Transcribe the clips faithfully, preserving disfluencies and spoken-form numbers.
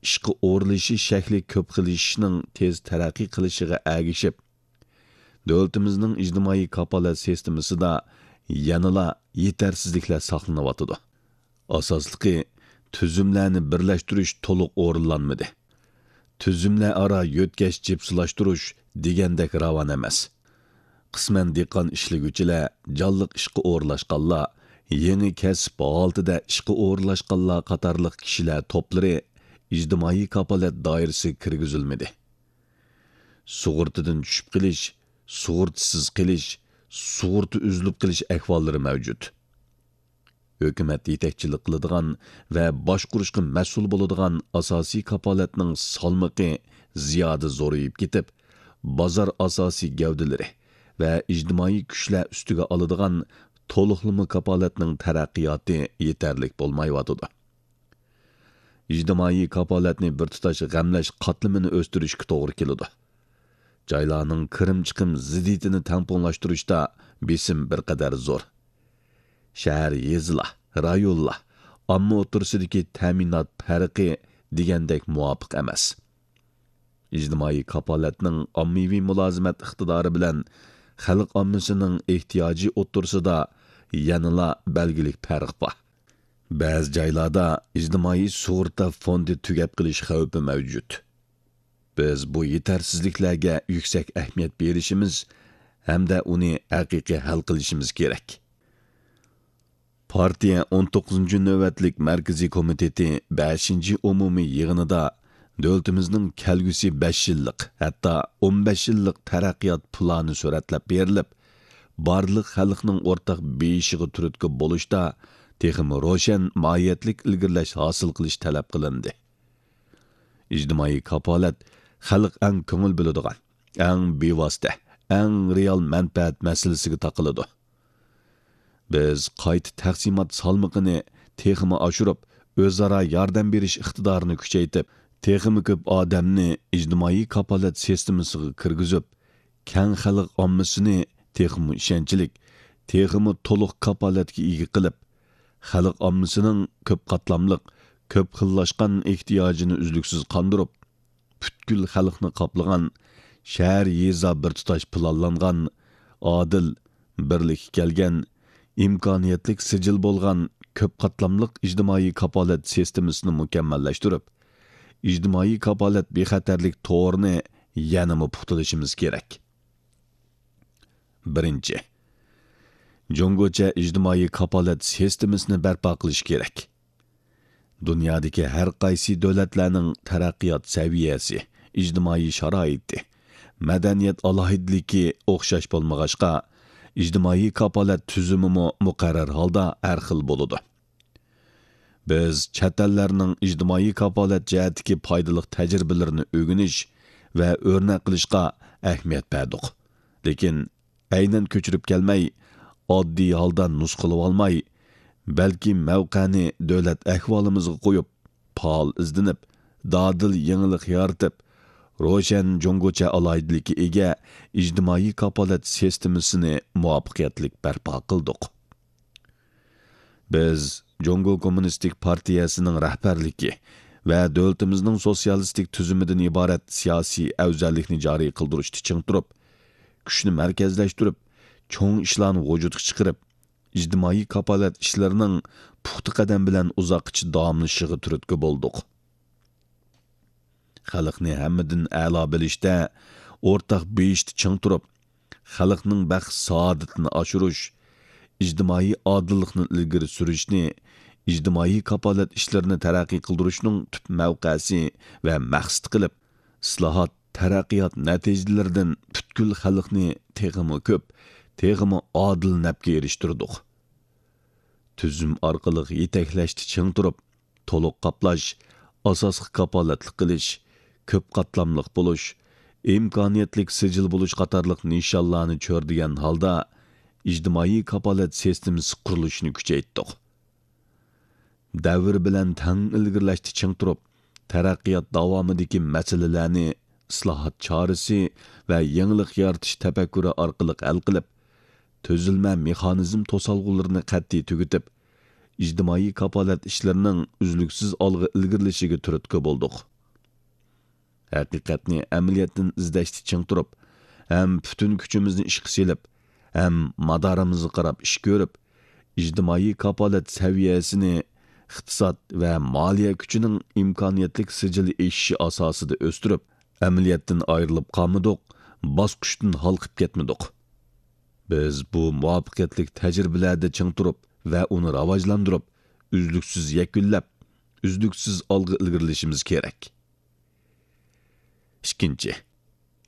ئىشقا ئورۇنلىشىش شەكلى كۆپ خىللىشىشنىڭ تېز تەرەققىي قىلىشىغا ئەگىشىپ، دۆلىتىمىزنىڭ ئىجتىمائىي كاپالەت سىستېمىسىدا يەنىلا يېتەرسىزلىكلەر ساقلىنىۋاتىدۇ. ئاساسلىقى، تۈزۈملەرنى بىرلەشتۈرۈش تولۇق ئورۇنلانمىدى. تۈزۈملەر ئارا يۆتكەش جىپسىلاشتۇرۇش دېگەندەك راۋان ئەمەس. قىسمەن دېھقان ئىشلىگۈچىلەر، جانلىق ئىشقا ئورۇنلاشقانلار، يېڭى كەسىپ ھالىتىدە ئىشقا ئورۇنلاشقانلار قاتارلىق كىشىلەر توپلىرى ئىجتىمائىي كاپالەت دائىرىسىگە كىرگۈزۈلمىدى. سۇغۇرتىدىن چۈشۈپ قېلىش، سۇغۇرتىسىز قېلىش، سۇغۇرتا ئۈزۈلۈپ قېلىش ئەھۋاللىرى مەۋجۇت. ھۆكۈمەت يېتەكچىلىك قىلىدىغان ۋە باشقۇرۇشقا مەسئۇل بولىدىغان ئاساسىي كاپالەتنىڭ سالمىقى زىيادە زورىيىپ كېتىپ، بازار ئاساسىي گەۋدىلىرى ۋە ئىجتىمائىي كۈچلەر ئۈستىگە ئالىدىغان تولۇقلىما كاپالەتنىڭ تەرەققىياتى يېتەرلىك بولمايۋاتىدۇ. ئىجتىمائىي كاپالەتنى بىر تۇتاش غەملەش قاتلىمىنى ئۆستۈرۈشكە توغرا كېلىدۇ. جايلارنىڭ كىرىم-چىقىم زىددىيىتىنى تەڭپۇڭلاشتۇرۇشتا بېسىم بىر قەدەر زور. شەھەر، يېزىلار، رايونلار، ئامما ئوتتۇرىسىدىكى تەمىنات پەرقى دېگەندەك مۇۋاپىق ئەمەس. ئىجتىمائىي كاپالەتنىڭ ئاممىۋى مۇلازىمەت ئىقتىدارى بىلەن خەلق ئاممىسىنىڭ ئېھتىياجى ئوتتۇرىسىدا يەنىلا بەلگىلىك پەرق بار. بەزى جايلاردا ئىجتىمائىي سۇغۇرتا فوندى تۈگەپ قېلىش خەۋپى مەۋجۇت. بىز بۇ يېتەرسىزلىكلەرگە يۈكسەك ئەھمىيەت بېرىشىمىز ھەمدە ئۇنى ھەقىقىي ھەل قىلىشىمىز كېرەك. پارتىيە ئون توققۇزىنچى نۆۋەتلىك مەركىزىي كومىتېتى بەشىنچى ئومۇمىي يىغىنىدا دۆلىتىمىزنىڭ كەلگۈسى بەش يىللىق، ھەتتا ئون بەش يىللىق تەرەققىيات پىلانى سۈرەتلەپ بېرىلىپ، بارلىق خەلقنىڭ ئورتاق بېيىشىغا تۈرتكە بولۇشتا تېخىمۇ روشەن ماھىيەتلىك ئىلگىرىلەش ھاسىل قىلىش تەلەپ قىلىندى. ئىجتىمائىي كاپالەت خەلق ئەڭ كۆڭۈل بۆلىدىغان، ئەڭ بىۋاسىتە، ئەڭ رېئال مەنپەئەت مەسىلىسىگە تاقىلىدۇ. بىز قايتا تەقسىمات سالمىقىنى تېخىمۇ ئاشۇرۇپ، ئۆزئارا ياردەم بېرىش ئىقتىدارىنى كۈچەيتىپ، تېخىمۇ كۆپ ئادەمنى ئىجتىمائىي كاپالەت سىستېمىسىغا كىرگۈزۈپ، كەڭ خەلق ئاممىسىنى تېخىمۇ ئىشەنچلىك، تېخىمۇ تولۇق كاپالەتكە ئىگە قىلىپ، خەلق ئاممىسىنىڭ كۆپ قاتلاملىق، كۆپ خىللاشقان ئېھتىياجىنى ئۈزلۈكسىز قاندۇرۇپ، پۈتكۈل خەلقنى قاپلىغان شەھەر، يېزا بىر تۇتاش پىلانلانغان، ئادىل، بىرلىككە كەلگەن، ئىمكانىيەتلىك سىجىل بولغان كۆپ قاتلاملىق ئىجتىمائىي كاپالەت سىستېمىسىنى مۇكەممەللەشتۈرۈپ، ئىجتىمائىي كاپالەت بىخەتەرلىك تورىنى يەنىمۇ پۇختىلىشىمىز كېرەك. بىرىنچى، جۇڭگوچە ئىجتىمائىي كاپالەت سىستېمىسىنى بەرپا قىلىش كېرەك. دۇنيادىكى ھەر قايسى دۆلەتلەرنىڭ تەرەققىيات سەۋىيەسى، ئىجتىمائىي شارائىتى، مەدەنىيەت ئالاھىدىلىكى ئوخشاش بولمىغاچقا، ئىجتىمائىي كاپالەت تۈزۈمىمۇ مۇقەررەر ھالدا ھەر خىل بولىدۇ. بىز چەت ئەللەرنىڭ ئىجتىمائىي كاپالەت جەھەتتىكى پايدىلىق تەجرىبىلىرىنى ئۆگىنىش ۋە ئۆرنەك قىلىشقا ئەھمىيەت بەردۇق. لېكىن ئەينەن كۆچۈرۈپ كەلمەي، ئاددىي ھالدا نۇسخىلىۋالماي، بەلكى مەۋقەنى دۆلەت ئەھۋالىمىزغا قويۇپ، پائال ئىزدىنىپ، دادىل يېڭىلىق يارىتىپ، روشەن جۇڭگوچە ئالاھىدىلىككە ئىگە ئىجتىمائىي كاپالەت سىستېمىسىنى مۇۋەپپەقىيەتلىك بەرپا قىلدۇق. بىز جۇڭگو كوممۇنىستىك پارتىيەسىنىڭ رەھبەرلىكى ۋە دۆلىتىمىزنىڭ سوتسىيالىستىك تۈزۈمىدىن ئىبارەت سىياسىي ئەۋزەللىكنى جارى قىلدۇرۇشتا چىڭ تۇرۇپ، كۈچنى مەركەزلەشتۈرۈپ، چوڭ ئىشلارنى ۋۇجۇدقا چىقىرىپ، ئىجتىمائىي كاپالەت ئىشلىرىنىڭ پۇختا قەدەم بىلەن ئۇزاققىچە داۋاملىشىشىغا تۈرتكە بولدۇق. خەلقنى ھەممىدىن ئەلا بىلىشتە، ئورتاق بېيىشتا چىڭ تۇرۇپ، خەلقنىڭ بەخت-سائادىتىنى ئاشۇرۇش، ئىجتىمائىي ئادىللىقنى ئىلگىرى سۈرۈشنى، ئىجتىمائىي كاپالەت ئىشلىرىنى تەرەققىي قىلدۇرۇشنىڭ تۈپ مەۋقەسى ۋە مەقسىتى قىلىپ، ئىسلاھات، تەرەققىيات نەتىجىلىرىدىن پۈتكۈل خەلقنى تېخىمۇ كۆپ، تېخىمۇ ئادىل نەپكە ئېرىشتۈردۇق. تۈزۈم ئارقىلىق يېتەكلەشتە چىڭ تۇرۇپ، تولۇق قاپلاش، ئاساسقا كاپالەتلىك قىلىش، كۆپ قاتلاملىق بولۇش، ئىمكانىيەتلىك سىجىل بولۇش قاتارلىق نىشانلارنى چۆرىدىگەن ھالدا ئىجتىمائىي كاپالەت سىستېمىسى قۇرۇلۇشىنى كۈچەيتتۇق. دەۋر بىلەن تەڭ ئىلگىرىلەشتە چىڭ تۇرۇپ، تەرەققىيات داۋامىدىكى مەسىلىلەرنى ئىسلاھات چارىسى ۋە يېڭىلىق يارىتىش تەپەككۇرى ئارقىلىق ھەل قىلىپ، تۈزۈلمە مېخانىزم توسالغۇلىرىنى قەتئىي تۈگىتىپ، ئىجتىمائىي كاپالەت ئىشلىرىنىڭ ئۈزلۈكسىز ئالغا ئىلگىرىلىشىگە تۈرتكە بولدۇق. ھەقىقەتنى ئەمەلىيەتتىن ئىزدەشتە چىڭ تۇرۇپ، ھەم پۈتۈن كۈچىمىزنى ئىشقا سېلىپ، ھەم مادارىمىزغا قاراپ ئىش كۆرۈپ، ئىجتىمائىي كاپالەت سەۋىيەسىنى ئىقتىساد ۋە مالىيە كۈچىنىڭ ئىمكانىيەتلىك سىجىل ئېشىشى ئاساسىدا ئۆستۈرۈپ، ئەمەلىيەتتىن ئايرىلىپ قالمىدۇق، باسقۇچتىن ھالقىپ كەتمىدۇق. بىز بۇ مۇۋەپپەقىيەتلىك تەجرىبىلەردە چىڭ تۇرۇپ ۋە ئۇنى راۋاجلاندۇرۇپ، ئۈزلۈكسىز يەكۈنلەپ، ئۈزلۈكسىز ئالغا ئىلگىرىلىشىمىز كېرەك. ئىككىنچى،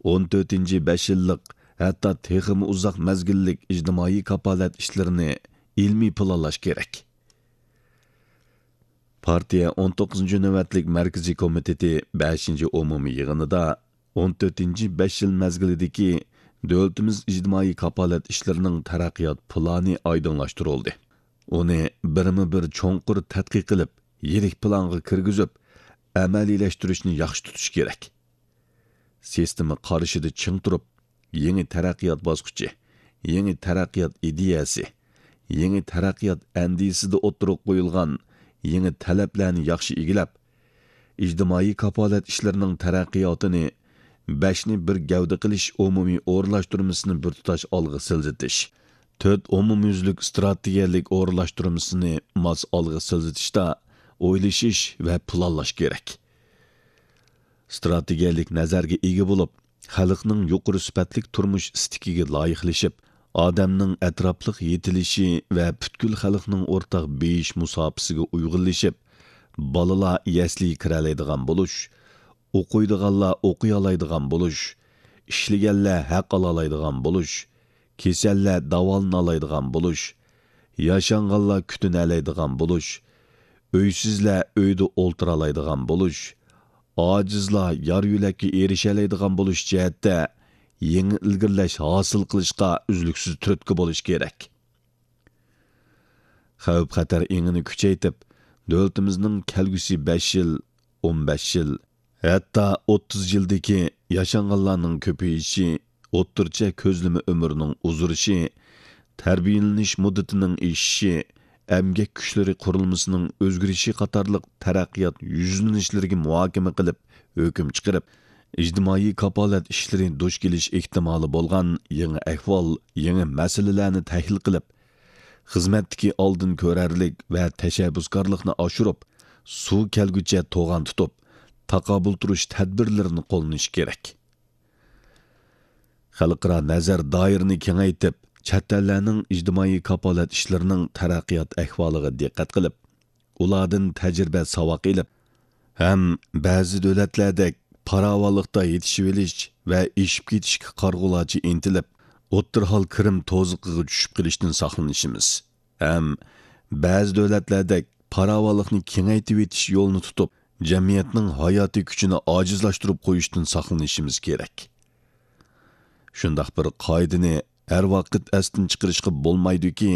ئون تۆتىنچى بەش يىللىق، ھەتتا تېخىمۇ ئۇزاق مەزگىللىك ئىجتىمائىي كاپالەت ئىشلىرىنى ئىلمىي پىلانلاش كېرەك. پارتىيە ئون توققۇزىنچى نۆۋەتلىك مەركىزىي كومىتېتى بەشىنچى ئومۇمىي يىغىنىدا ئون تۆتىنچى بەش يىل مەزگىلىدىكى دۆلىتىمىز ئىجتىمائىي كاپالەت ئىشلىرىنىڭ تەرەققىيات پىلانى ئايدىڭلاشتۇرۇلدى. ئۇنى بىرمۇ بىر چوڭقۇر تەتقىق قىلىپ، يىرىك پىلانغا كىرگۈزۈپ، ئەمەلىيلەشتۈرۈشنى ياخشى تۇتۇش كېرەك. سىستېما قارىشىدا چىڭ تۇرۇپ، يېڭى تەرەققىيات باسقۇچى، يېڭى تەرەققىيات ئىدىيەسى، يېڭى تەرەققىيات ئەندىزىسىدە ئوتتۇرىغا قويۇلغان يېڭى تەلەپلەرنى ياخشى ئىگىلەپ، ئىجتىمائىي كاپالەت ئىشلىرىنىڭ تەرەققىياتىنى بەشنى بىر گەۋدە قىلىش ئومۇمىي ئورۇنلاشتۇرمىسىنى بىر تۇتاش ئالغا سىلجىتىش، تۆت ئومۇميۈزلۈك ئىستراتېگىيەلىك ئورۇنلاشتۇرمىسىنى ماس ئالغا سىلجىتىشتا ئويلىشىش ۋە پىلانلاش كېرەك. ئىستراتېگىيەلىك نەزەرگە ئىگە بولۇپ، خەلقنىڭ يۇقىرى سۈپەتلىك تۇرمۇش ئىستىكىگە لايىقلىشىپ، ئادەمنىڭ ئەتراپلىق يېتىلىشى ۋە پۈتكۈل خەلقنىڭ ئورتاق بېيىش مۇساپىسىگە ئۇيغۇنلىشىپ، بالىلار يەسلىگە كىرەلەيدىغان بولۇش، ئوقۇيدىغانلار ئوقۇيالايدىغان بولۇش، ئىشلىگەنلەر ھەق ئالالايدىغان بولۇش، كېسەللەر داۋالىنالايدىغان بولۇش، ياشانغانلار كۈتۈنەلەيدىغان بولۇش، ئۆيسىزلەر ئۆيدە ئولتۇرالايدىغان بولۇش، ئاجىزلار يار يۆلەككە ئېرىشەلەيدىغان بولۇش جەھەتتە يېڭى ئىلگىرىلەش ھاسىل قىلىشقا ئۈزلۈكسىز تۈرتكە بولۇش كېرەك. خەۋپ-خەتەر ئېڭىنى كۈچەيتىپ، دۆلىتىمىزنىڭ كەلگۈسى بەش يىل، ئون بەش يىل، ھەتتا ئوتتۇز يىلدىكى ياشانغانلارنىڭ كۆپىيىشى، ئوتتۇرىچە كۆزلىمە ئۆمرىنىڭ ئۇزىرىشى، تەربىيەلىنىش مۇددىتىنىڭ ئېشىشى، ئەمگەك كۈچلىرى قۇرۇلمىسىنىڭ ئۆزگىرىشى قاتارلىق تەرەققىيات يۈزلىنىشلىرىگە مۇھاكىمە قىلىپ، ھۆكۈم چىقىرىپ، ئىجتىمائىي كاپالەت ئىشلىرى دۇچ كېلىش ئېھتىمالى بولغان يېڭى ئەھۋال، يېڭى مەسىلىلەرنى تەھلىل قىلىپ، خىزمەتتىكى ئالدىن كۆرەرلىك ۋە تەشەببۇسكارلىقنى ئاشۇرۇپ، سۇ كەلگۈچە توغان تۇتۇپ، تاقابىل تۇرۇش تەدبىرلىرىنى قوللىنىش كېرەك. خەلقئارا نەزەر دائىرىنى كېڭەيتىپ، چەت ئەللەرنىڭ ئىجتىمائىي كاپالەت ئىشلىرىنىڭ تەرەققىيات ئەھۋالىغا دىققەت قىلىپ، ئۇلاردىن تەجرىبە ساۋاق ئېلىپ، ھەم بەزى دۆلەتلەردەك پاراۋانلىقتا يېتىشىۋېلىش ۋە ئېشىپ كېتىشكە قارىغۇلارچە ئىنتىلىپ، ئوتتۇرا ھال كىرىم توزۇقىغا چۈشۈپ قېلىشتىن ساقلىنىشىمىز ھەم بەزى دۆلەتلەردەك پاراۋانلىقنى كېڭەيتىۋېتىش يولىنى تۇتۇپ، جەمئىيەتنىڭ ھاياتىي كۈچىنى ئاجىزلاشتۇرۇپ قويۇشتىن ساقلىنىشىمىز كېرەك. شۇنداق بىر قائىدىنى ھەر ۋاقىت ئەستىن چىقىرىشقا بولمايدۇكى،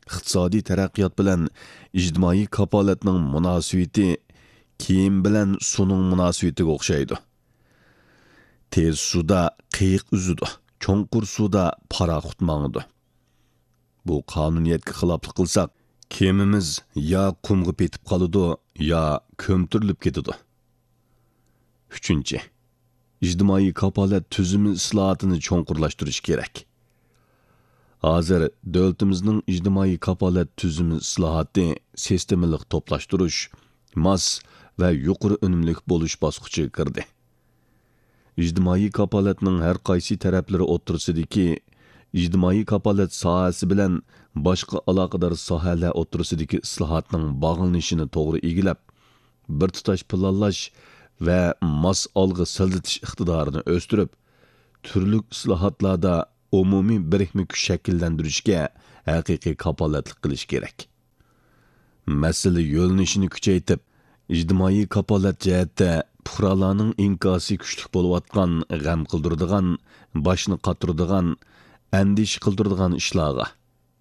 ئىقتىسادىي تەرەققىيات بىلەن ئىجتىمائىي كاپالەتنىڭ مۇناسىۋىتى كىيىم بىلەن سۇنىڭ مۇناسىۋىتىگە ئوخشايدۇ. تېز سۇدا قېيىق ئۈزىدۇ، چوڭقۇر سۇدا پاراخوت ماڭىدۇ. بۇ قانۇنىيەتكە خىلاپلىق قىلساق، كېمىمىز يا قۇمغا پېتىپ قالىدۇ، يا كۆمتۈرۈلۈپ كېتىدۇ. ئۈچىنچى، ئىجتىمائىي كاپالەت تۈزۈمى ئىسلاھاتىنى چوڭقۇرلاشتۇرۇش كېرەك. ھازىر دۆلىتىمىزنىڭ ئىجتىمائىي كاپالەت تۈزۈمى ئىسلاھاتى سىستېمىلىق توپلاشتۇرۇش، ماس ۋە يۇقىرى ئۈنۈملۈك بولۇش باسقۇچىغا كىردى. ئىجتىمائىي كاپالەتنىڭ ھەر قايسى تەرەپلىرى ئوتتۇرىسىدىكى، ئىجتىمائىي كاپالەت ساھەسى بىلەن باشقا ئالاقىدار ساھەلەر ئوتتۇرىسىدىكى ئىسلاھاتنىڭ باغلىنىشىنى توغرا ئىگىلەپ، بىر تۇتاش پىلانلاش ۋە ماس ئالغا سىلجىتىش ئىقتىدارىنى ئۆستۈرۈپ، تۈرلۈك ئىسلاھاتلاردا ئومۇمىي بىرىكمە كۈچ شەكىللەندۈرۈشكە ھەقىقىي كاپالەتلىك قىلىش كېرەك. مەسىلە يۆنىلىشىنى كۈچەيتىپ، ئىجتىمائىي كاپالەت جەھەتتە پۇقرالارنىڭ ئىنكاسى كۈچلۈك بولۇۋاتقان، غەم قىلدۇرىدىغان، باشنى قاتۇرىدىغان، ئەندىشە قىلدۇرىدىغان ئىشلارغا،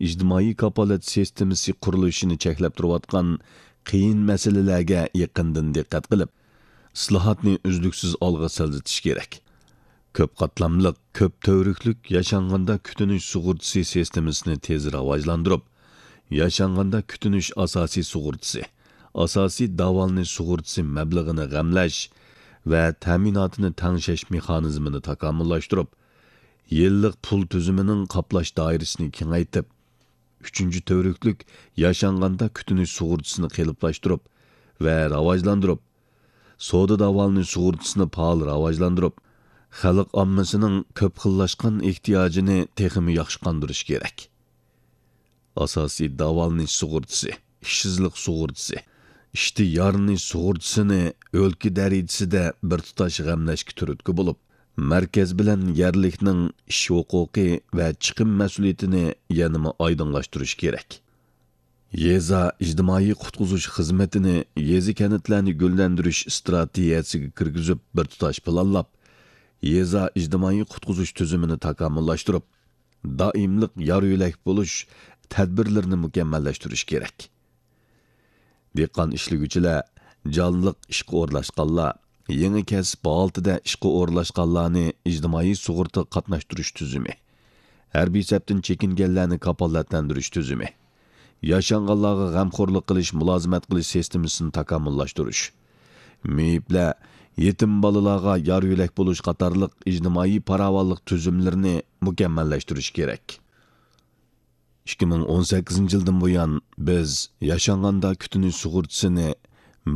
ئىجتىمائىي كاپالەت سىستېمىسى قۇرۇلۇشىنى چەكلەپ تۇرۇۋاتقان قىيىن مەسىلىلەرگە يېقىندىن دىققەت قىلىپ، ئىسلاھاتنى ئۈزلۈكسىز ئالغا سىلجىتىش كېرەك. كۆپ قاتلاملىق، كۆپ تۈۋرۈكلۈك ياشانغاندا كۈتۈنۈش سۇغۇرتىسى سىستېمىسىنى تېز راۋاجلاندۇرۇپ، ياشانغاندا كۈتۈنۈش ئاساسىي سۇغۇرتىسى، ئاساسىي داۋالىنىش سۇغۇرتىسى مەبلىغىنى غەملەش ۋە تەمىناتىنى تەڭشەش مېخانىزمىنى تاكامۇللاشتۇرۇپ، يىللىق پۇل تۈزۈمىنىڭ قاپلاش دائىرىسىنى كېڭەيتىپ، ئۈچىنچى تۈۋرۈكلۈك ياشانغاندا كۈتۈنۈش سۇغۇرتىسىنى قېلىپلاشتۇرۇپ ۋە راۋاجلاندۇرۇپ، سودا داۋالىنىش سۇغۇرتىسىنى پائال راۋاجلاندۇرۇپ، خەلق ئاممىسىنىڭ كۆپ خىللاشقان ئېھتىياجىنى تېخىمۇ ياخشى قاندۇرۇش كېرەك. ئاساسىي داۋالىنىش سۇغۇرتىسى، ئىشسىزلىق سۇغۇرتىسى، ئىشتىن يارىنىش سۇغۇرتىسىنى ئۆلكە دەرىجىسىدە بىر تۇتاش غەملەشكە تۈرتكە بولۇپ، مەركەز بىلەن يەرلىكنىڭ ئىش ھوقۇقى ۋە چىقىم مەسئۇلىيىتىنى يەنىمۇ ئايدىڭلاشتۇرۇش كېرەك. يېزا ئىجتىمائىي قۇتقۇزۇش خىزمىتىنى يېزا، كەنتلەرنى گۈللەندۈرۈش ئىستراتېگىيەسىگە كىرگۈزۈپ، بىر تۇتاش پىلانلاپ، يېزا ئىجتىمائىي قۇتقۇزۇش تۈزۈمىنى تاكامۇللاشتۇرۇپ، دائىملىق يار يۆلەك بولۇش تەدبىرلىرىنى مۇكەممەللەشتۈرۈش كېرەك. دېھقان ئىشلىگۈچىلەر، جانلىق ئىشقا ئورۇنلاشقانلار، يېڭى كەسىپ ھالىتىدە ئىشقا ئورۇنلاشقانلارنى ئىجتىمائىي سۇغۇرتىغا قاتناشتۇرۇش تۈزۈمى، ھەربىي سەپتىن چېكىنگەنلەرنى كاپالەتلەندۈرۈش تۈزۈمى، ياشانغانلارغا غەمخورلۇق قىلىش، مۇلازىمەت قىلىش سىستېمىسىنى تاكامۇللاشتۇرۇش، مېيىپلەر، يېتىم بالىلارغا يار يۆلەك بولۇش قاتارلىق ئىجتىمائىي پاراۋانلىق تۈزۈملىرىنى مۇكەممەللەشتۈرۈش كېرەك. ئىككى مىڭ ئون سەككىزىنچى يىلدىن بۇيان، بىز ياشانغاندا كۈتۈنۈش سۇغۇرتىسىنى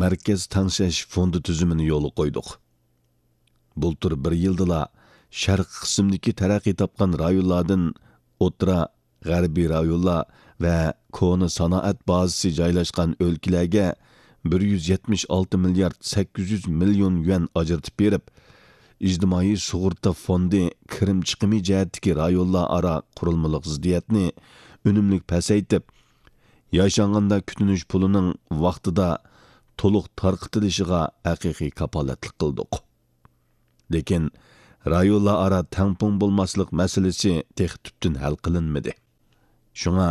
مەركەز تەڭشەش فوندى تۈزۈمىنى يولغا قويدۇق. بۇلتۇر بىر يىلدىلا شەرقىي قىسىمدىكى تەرەققىي تاپقان رايونلاردىن ئوتتۇرا، غەربىي رايونلار ۋە كونا سانائەت بازىسى جايلاشقان ئۆلكىلەرگە بىر يۈز يەتمىش ئالتە مىليارد سەككىز يۈز مىليون يۈەن ئاجرىتىپ بېرىپ، ئىجتىمائىي سۇغۇرتا فوندى كىرىم چىقىمى جەھەتتىكى رايونلار ئارا قۇرۇلمىلىق زىددىيەتنى ئۈنۈملۈك پەسەيتىپ، ياشانغاندا كۈتۈنۈش پۇلىنىڭ ۋاقتىدا تولۇق تارقىتىلىشىغا ھەقىقىي كاپالەتلىك قىلدۇق. لېكىن رايونلار ئارا تەڭپۇڭ بولماسلىق مەسىلىسى تېخى تۈپتىن ھەل قىلىنمىدى. شۇڭا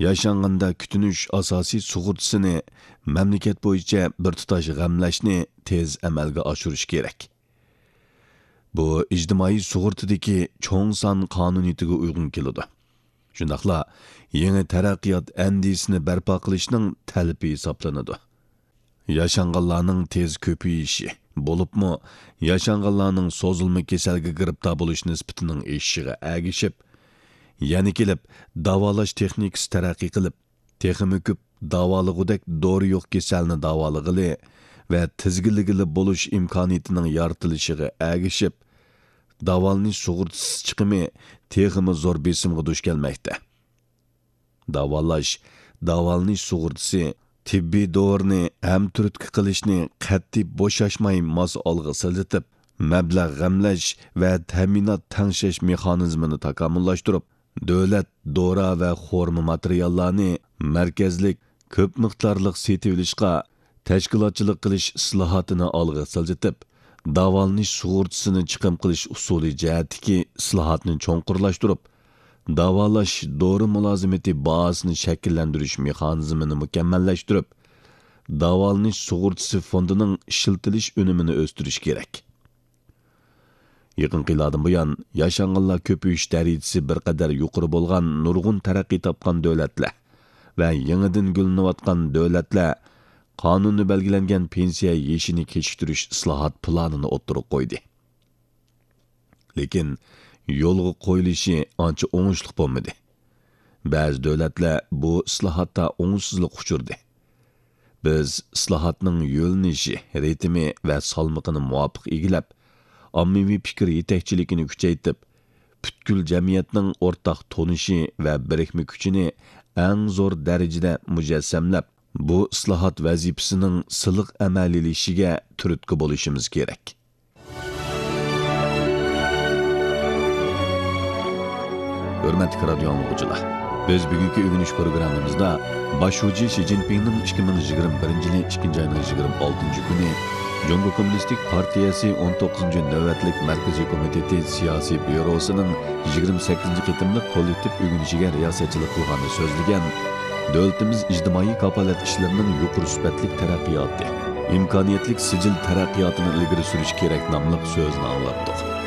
ياشانغاندا كۈتۈنۈش ئاساسىي سۇغۇرتىسىنى مەملىكەت بويىچە بىر تۇتاش غەملەشنى تېز ئەمەلگە ئاشۇرۇش كېرەك. بۇ ئىجتىمائىي سۇغۇرتىدىكى چوڭ سان قانۇنىيىتىگە ئۇيغۇن كېلىدۇ. شۇنداقلا يېڭى تەرەققىيات ئەندىزىسىنى بەرپا قىلىشنىڭ تەلىپى ھېسابلىنىدۇ. ياشانغانلارنىڭ تېز كۆپىيىشى، بولۇپمۇ ياشانغانلارنىڭ سوزۇلما كېسەلگە گىرىپتار بولۇش نىسبىتىنىڭ ئېشىشىغا ئەگىشىپ، يەنە كېلىپ داۋالاش تېخنىكىسى تەرەققىي قىلىپ، تېخىمۇ كۆپ داۋالىغۇدەك دورا يوق كېسەلنى داۋالىغىلى ۋە تىزگىنلىگىلى بولۇش ئىمكانىيىتىنىڭ يارىتىلىشىغا ئەگىشىپ، داۋالىنىش سۇغۇرتىسى چىقىمى تېخىمۇ زور بېسىمغا دۇچ كەلمەكتە. داۋالاش، داۋالىنىش سۇغۇرتىسى، تېببىي دورىنى ھەمتۈرتكە قىلىشنى قەتئىي بوشاشماي ماس ئالغا سىلجىتىپ، مەبلەغ غەملەش ۋە تەمىنات تەڭشەش مېخانىزمىنى تاكامۇللاشتۇرۇپ، دۆلەت دورا ۋە خورما ماتېرىياللارنى مەركەزلىك، كۆپ مىقدارلىق سېتىۋېلىشقا تەشكىلاتچىلىق قىلىش ئىسلاھاتىنى ئالغا سىلجىتىپ، داۋالىنىش سۇغۇرتىسىنى چىقىم قىلىش ئۇسۇلى جەھەتتىكى ئىسلاھاتنى چوڭقۇرلاشتۇرۇپ، داۋالاش دورا مۇلازىمىتى بازىسىنى شەكىللەندۈرۈش مېخانىزمىنى مۇكەممەللەشتۈرۈپ، داۋالىنىش سۇغۇرتىسى فوندىنىڭ ئىشلىتىلىش ئۈنۈمىنى ئۆستۈرۈش كېرەك. يېقىنقى يىللاردىن بۇيان، ياشانغانلار كۆپىيىش دەرىجىسى بىر قەدەر يۇقىرى بولغان نۇرغۇن تەرەققىي تاپقان دۆلەتلەر ۋە يېڭىدىن گۈللىنىۋاتقان دۆلەتلەر قانۇندا بەلگىلەنگەن پېنسىيە يېشىنى كېچىكتۈرۈش ئىسلاھات پىلانىنى ئوتتۇرىغا قويدى. لېكىن يولغا قويۇلۇشى ئانچە ئوڭۇشلۇق بولمىدى. بەزى دۆلەتلەر بۇ ئىسلاھاتتا ئوڭۇشسىزلىققا ئۇچرىدى. بىز ئىسلاھاتنىڭ يۆنىلىشى، رىتىمى ۋە سالمىقىنى مۇۋاپىق ئىگىلەپ، ئاممىۋى پىكىر يېتەكچىلىكىنى كۈچەيتىپ، پۈتكۈل جەمئىيەتنىڭ ئورتاق تونۇشى ۋە بىرىكمە كۈچىنى ئەڭ زور دەرىجىدە مۇجەسسەملەپ، بۇ ئىسلاھات ۋەزىپىسىنىڭ سىلىق ئەمەلىيلىشىشىگە تۈرتكە بولۇشىمىز كېرەك. ھۆرمەتلىك رادىيو ئاڭلىغۇچىلار، بىز بۈگۈنكى ئۆگىنىش پروگراممىمىزدا باش شۇجى شى جىنپىڭنىڭ ئىككى مىڭ يىگىرمە بىرىنچى يىلى ئىككىنچى ئاينىڭ يىگىرمە ئالتىنچى كۈنى جۇڭگو كوممۇنىستىك پارتىيەسى ئون توققۇزىنچى نۆۋەتلىك مەركىزىي كومىتېتى سىياسىي بيۇروسىنىڭ يىگىرمە سەككىزىنچى قېتىملىق كوللېكتىپ ئۆگىنىشىگە رىياسەتچىلىك قىلغاندا سۆزلىگەن، دۆلىتىمىز ئىجتىمائىي كاپالەت ئىشلىرىنىڭ يۇقىرى سۈپەتلىك تەرەققىياتى، ئىمكانىيەتلىك سىجىل تەرەققىياتىنى ئىلگىرى سۈرۈش كېرەك ناملىق سۆزىنى ئاڭلاتتۇق.